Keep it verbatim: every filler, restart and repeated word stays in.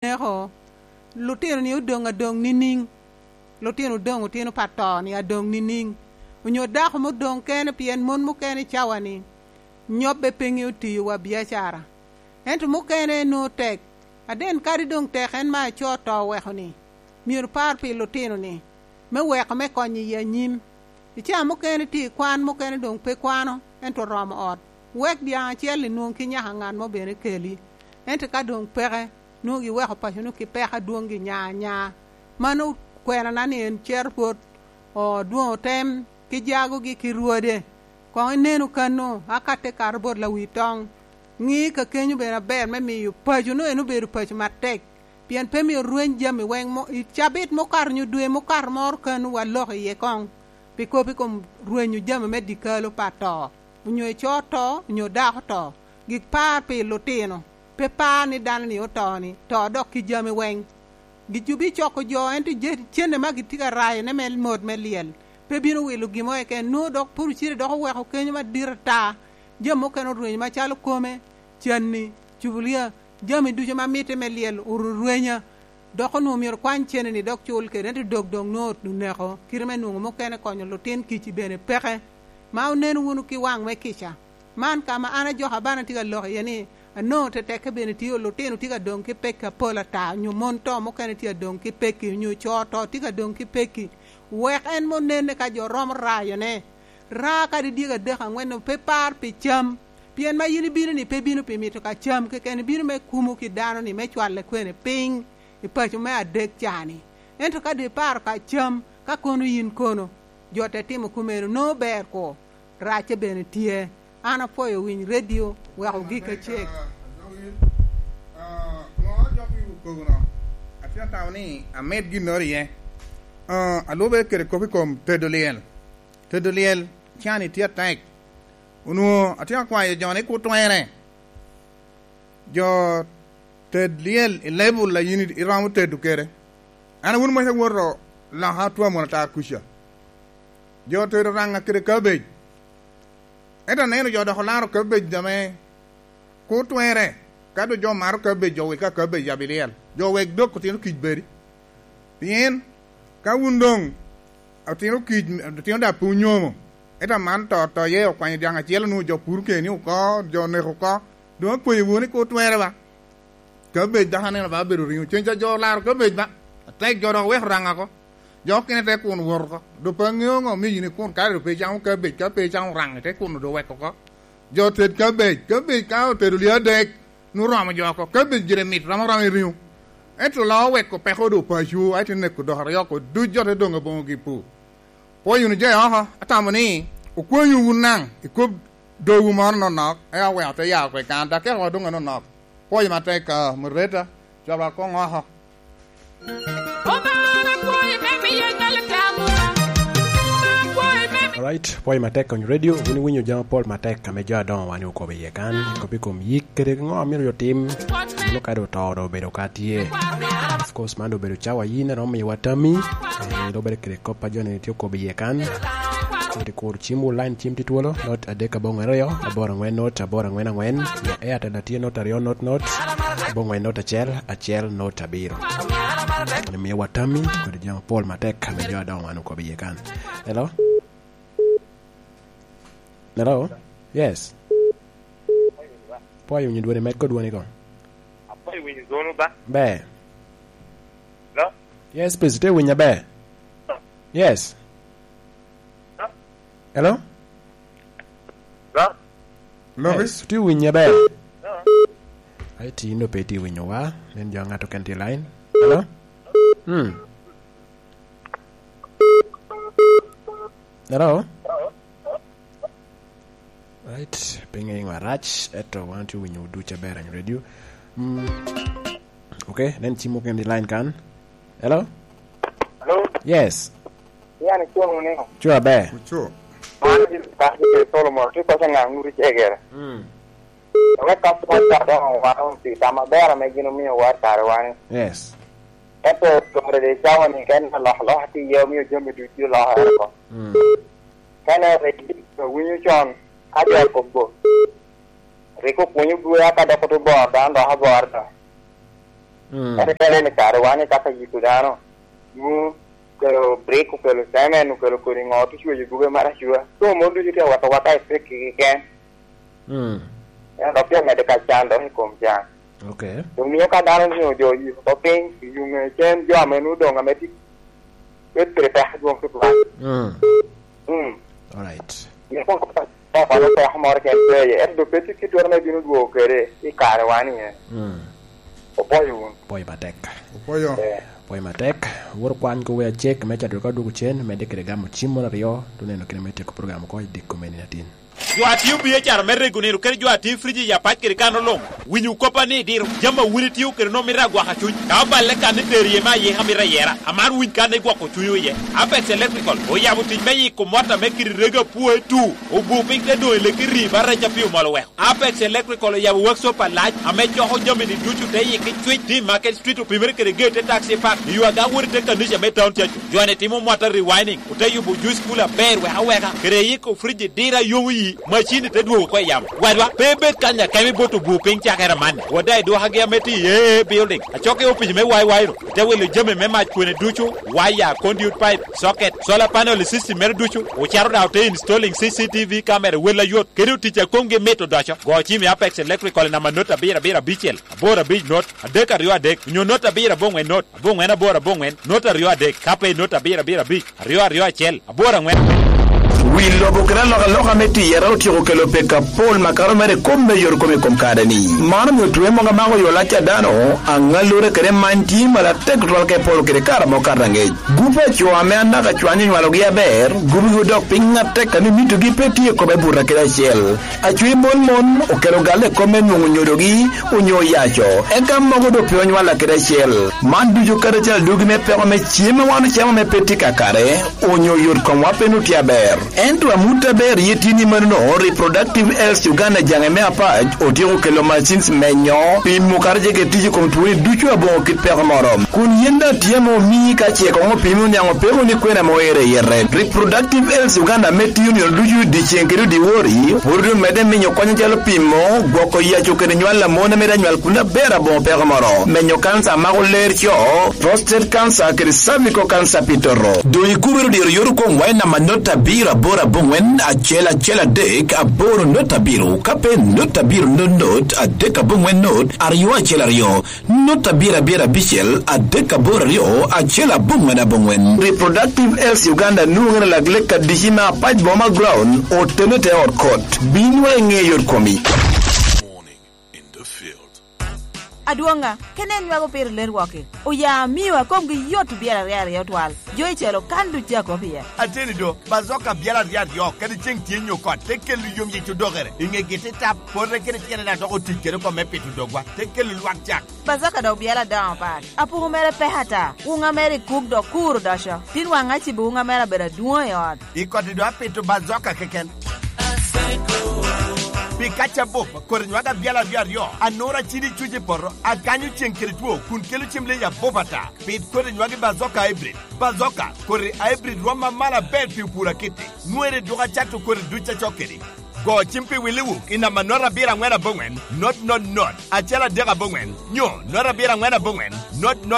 oneko, lutino-ni odoŋ adoŋ niniŋ? Lutino odoŋ otino pa to-ni adoŋ niniŋ? Onyo dako mudoŋ kene pien mon mukene i cawa-ni nyobbe pe ŋeo tiyo wa biacara? Ento mukene nwoŋo tek, aden kadi doŋ tek en ma acoo to oweko-ni, myero par pi lutino-ni, me weko me konyo i anyim. I caa mukene tye i kwan, mukene doŋ pe kwano, ento oromo ot. Wek dyaŋ acel-li nwoŋ ki nyaka ŋat mo bene keli. Ento ka doŋ peke, nwoŋo giweko paco-nu ki peko adwoŋ gi nya anya. Mano kwenana ni en cero bot odwoŋo tem ki jagogi ki rwode. Koŋ inenu kano, aka te kato bot lawi toŋ. Ŋi ka kenyo bene aber me miyo paco-nu en obedo paco matek, pien pe myero rweny jami weŋ mo, i cabit mukato nyo dwe mukato moro kano wa lok iye koŋ, pi kop i kom rwenyo jami me dikalo pa to, onyo ico to, onyo dako to. Gik par pi lutino, pe par ni dano-ni oto-ni, to dok ki jami weŋ. Gicubi coko jo, ento je-, cente ma gitye ka rayone me mot me lyel, pe bino wilo gin mo keken, nwoŋo dok pwod ocele dok oweko kenyo madit ata. Jami mukene orwenyo macalo kome, canni, cubulia, jami ducu ma mitte me lyel orurwenya. Dok onwoŋo myero kwany cene-ni dok cul kede, ento dog doŋ nwoŋo oneko, kite me nwoŋo mukene konyo lutin kici bene peke, ma oneno wunu ki waŋ me kica. Man ka ma an ajoko abana tye ka lok iye ni, anwoŋo tetekke bene tye, lutino tye ka doŋ ki pekki apol ata, onyo mon to mukene tye ka doŋ ki pekki, onyo co to tye ka doŋ ki pekki. Wek en mo nenne ka jo romo rayone. Ra kadi dyegi adek aŋwen-nu, pe par pi cam, pien ma yin ibino-ni pe bino pi mito ka cam keken, ibino me kumo ki dano-ni me cwale kwene piny i paco me adek ca-ni. Ento ka doŋ iparo ka cam, ka kono yin kono, jo te timo kumeno, nwoŋo ber ko, racce bene tye. An apwoyo winy redio, weko gik acek. Ah, ŋo ajok i okogono? Atye atamo ni amed ginnoro iye. Ah, alube kede kop i kom tedo lyel. Tedo lyel, can-ni tye atek. Onwoŋo atye akwayo jo ni kur twerre. Jo ted lyel i level a yin iromo tedo kede. An awun mac awoto loka otwamo ata kuca. Jo tedo raŋa kede cabbage. Ento aneno jo dok olaro cabbage ame kur twerre. Ka doŋ jo maro cabbage, jo wil ka cabbage yab i lyel. Jo wek dok otino kic bedi. Pien ka wun doŋ otino kic, otino daŋ pe onyomo, ento aman to, to iye okwanyo dyaŋ acel, onwoŋo jo puro keni oko, jo oneko oko, doŋ akwayo wunu ni kur twerre ba. Cabbage dok aneno ba obedo riŋo. Cen ca jo olaro cabbage ba. Atek jo dok oweko raŋa oko. Jo okene te kun wot oko. Doŋ pe aŋeo ŋo omiyo yin ikun, kare doŋ pe icamo cabbage, ka pe icamo raŋi, te kun doŋ weko oko. Jo ted cabbage, cabbage ka otedo lye adek, nwoŋo romo jo oko. Cabbage gire mit, romo romo i riŋo. Ento loo oweko peko doŋ paco, aye te neko dok aryo oko, duc jo te doŋ aboŋogi pu. Pwoyo wunu jo i oko, atamo ni okwanyo wun naŋ i kop dogwu moro nonok, eka oweko te ya oko i kan, dok keko doŋ anonok. Pwoyo matek, ah, moderator, cwalwa koŋ oko. Obaŋa pwoyo me miyo ngal tamwa. Obaŋa pwoyo me mi- Alright, pwoyo matek Kony Radio, wun iwinyo jami apol matek ame jo adoŋo wan okobo iye kan, kop i kom yik kede ŋo amito yo tim, meno kadi oto doŋ obedo ka tye. Of course, man doŋ obedo cawa yin a romo miyowa tammi, eh, doŋ obedo kede kop a jo-ni tye okobo iye kan. Kodi kur cimwu line cim tye twolo, not adek aboŋo aryo, aboro aŋwen not, aboro aŋwen aŋwen, Airtel a tye not aryo not not, aboŋo aŋwen not acel, acel not abiro. Koni miyowa tammi, kodi jami apol matek, ame jo adoŋo wan okobo iye kan. Hello? Hello? Yes. Pwoyo winyo dwoni, med kod dwoni ko. Apwoyo winyo dwono ba. Ber. Hello? Yes, please, tye winyo ber. Yes. Hello? Hello? Lobi? Yes, tye winyo ber. Hello? Ai, tin do pe tye winyo wa. Nen jo ŋato ken tye line. Hello? Hmm. Hello? Right, pinge iŋo arac, eto wan tye winyo duc aber any radio. Mm. Okay, nen cim mukene i line kan. Hello? Hello? Yes. Yan icuŋ ni? Cu aber. Ocu. Man tye Solomon, tye kɔc aŋa ŋut icegere. Mm. Wek ka pwony ca doŋ owano pi tam aber ame gin omio war kare wani. Yes. Ento dore de cawa ni ken alokaloka tye iye omio jami ducu olokere oko. Mm. Kene rik awinyo con ka jo akobo. Rik opwonyo bwea ka dok oto bor dano dok abor do. Mm. Ento ka ineno i kare wan i kaka yito dano, nwoŋo okelo brik, okelo cemen, okelo kodi ŋo, te cweyo gube maracuwa. Ka mon ducu tye awat awata i pekki keken. Mm. Ento dok tye medo ka can dok i kom can. Ok. Omio ka dano onwoŋo jo oyiko oko piny, i yuŋe cen jo ame nwoŋo doŋ ame tye, bet pire peko dwoŋ tutwal. Mm. Mm. Alright. Mito kono peko moro keken pe iye, ento doŋ pe tye kit ame ibino dwogo kede i kare wan iye. Mm. Opwoyo wun. Opwoyo matek. Opwoyo. Eh. Opwoyo matek. Wot okwany kowe acek me cato ka dwogo cen, medde kede gamo cim moro aryo, te neno kit ame ityeko program oko i diko me nino atin. Jo a tio biacara me rego nino kede jo a tio friji i apac kede kano luŋ, winyo koppa ni idiro. Jami a wun itio kede nwoŋo mito agwaka cuny. Ka oballe kan ni tero iye me ayika mito ayera, amaro winy kan ni gwoko cunywu iye. Apex Electrical oyabo tic me yiko mot ame kite rego apwoe tu, obu piny te doŋ i leki rii ba rec a pii omol oweko. Apex Electrical oyabo workshop alac ame coko jami-ni ducu te yiki cwec, te i Market Street opimere kede geyi te taxi park, i yo aga wot i te kanica me Town Church. Jo-ni timo mwata rewinding, ote yubo juice cooler aber wek aweka, kede yiko friji diro a yomo yi, macin-ni te dwogo oko i yamo. Wadwa, pe ibed kany akemo ibot obwo piny cakere amanni. Wot daŋ i dwokagi ame tye i A A A Building, acok i opic me Y Y-nu, ite wilo jami me mac kwene ducu, waya, conduit pipe, socket, solar panel i system mere ducu, ocito daŋ ote installing C C T V camera i wel ayot, kede otic a komgi mit odoco. Go cim i Apex Electrical i namba not abiro abiro abicel, aboro abic not, adek aryo adek, onyo not abiro aboŋwen not, aboŋwen aboro aboŋwen, not aryo adek, ka pe not abiro abiro abic, aryo aryo acel, aboro aŋwen aŋwen. Wi lobo kede alokaloka me tiyere otyeko kelo peko apol makato mere i kop me yot kom i kom kare-ni. Man omio twe mogo amako yo lac a dano, aŋallure kede many tye malo atek tutwal ka iporo kede kare amo kato aŋec. Gupe a co ame anaka cwany onywalogi aber, gubigi odok piny atek ame mitogi pe tye i kome buto kede acel. Acwiny mon mon okelo galle i kop me nwoŋo nyodogi onyo oyaco, eka mogo doŋ pe onywalla kede acel. Man ducu kadi acel adwogi me peko me cem a wan ocamo ame pe tye kakare, onyo yot komwa pe nwoŋo tye aber. Ento amut aber iye tye ni manono, Reproductive Health Uganda jaŋe me apac otyeko kelo machines menyo, pimo kadi ce kede tic i kom twoni ducu aboŋo kit peko moro. Kun yin daŋ tye ame omii ka ce koŋ opimi oniaŋ opeko ni kwene ame oero i yite. Reproductive Health Uganda ame tiyo nino ducu dyeceŋ kede dyewor, pwod omedde miyo kony acalo pimo, gwoko yaco kede nywal a mon ame daŋ nywal kun aber aboŋo peko moro, menyo kanca a mako ler co, prostate cancer kede cervical cancer pi toto. Doŋ ikubere diro yot kom wa i namba not abiro aboro aboŋwen acel acel adek aboro not abiro, ka pe not abiro not not adek aboŋwen not aryo acel aryo. Not abiro abiro abicel adek aboro aryo acel aboŋwen aboŋwen. Reproductive Health Uganda nwoŋere lak lek adici me apac boma ground, otene te ot kot. Bin wa i ŋe yot komi. Adwoŋa, kene en nwago piro ler wok-ki. Oya amio a komgi yot obyelo aryo aryo twal. Jo i celo kan duc a kop iye. Ateni do, bazoka byel aryo aryo, kadi ceŋ tye nyo kot, te kelo yom yic odokere. I ŋegi te tap, pote kede tyene daŋ dok otic kede oko me pito dogwa, te kelo lwak cak. Bazoka dok byel adoŋo pat. Apuku mere pek ata. Wuŋa mere i kuk dok kur odoco. Tin waŋ acibo wuŋa mere abedo adwoŋ i ot. I koti do apito bazoka keken. Pi kaca bup, koti nywaka byel aryo aryo, anura cidi cuc i poto, akanyo ceŋ kede two, kun kelo cem leyi abup ata. Pit koti nywagi bazoka hybrid. Bazoka, koti hybrid rwom amalo aber pi opur akiti. Nwere duk acato koti duc acok kedi. Go cim pi Willi Wuk i namba not abiro aŋwen aboŋwen, not not not, acel adek aboŋwen, nyo not abiro aŋwen aboŋwen, not not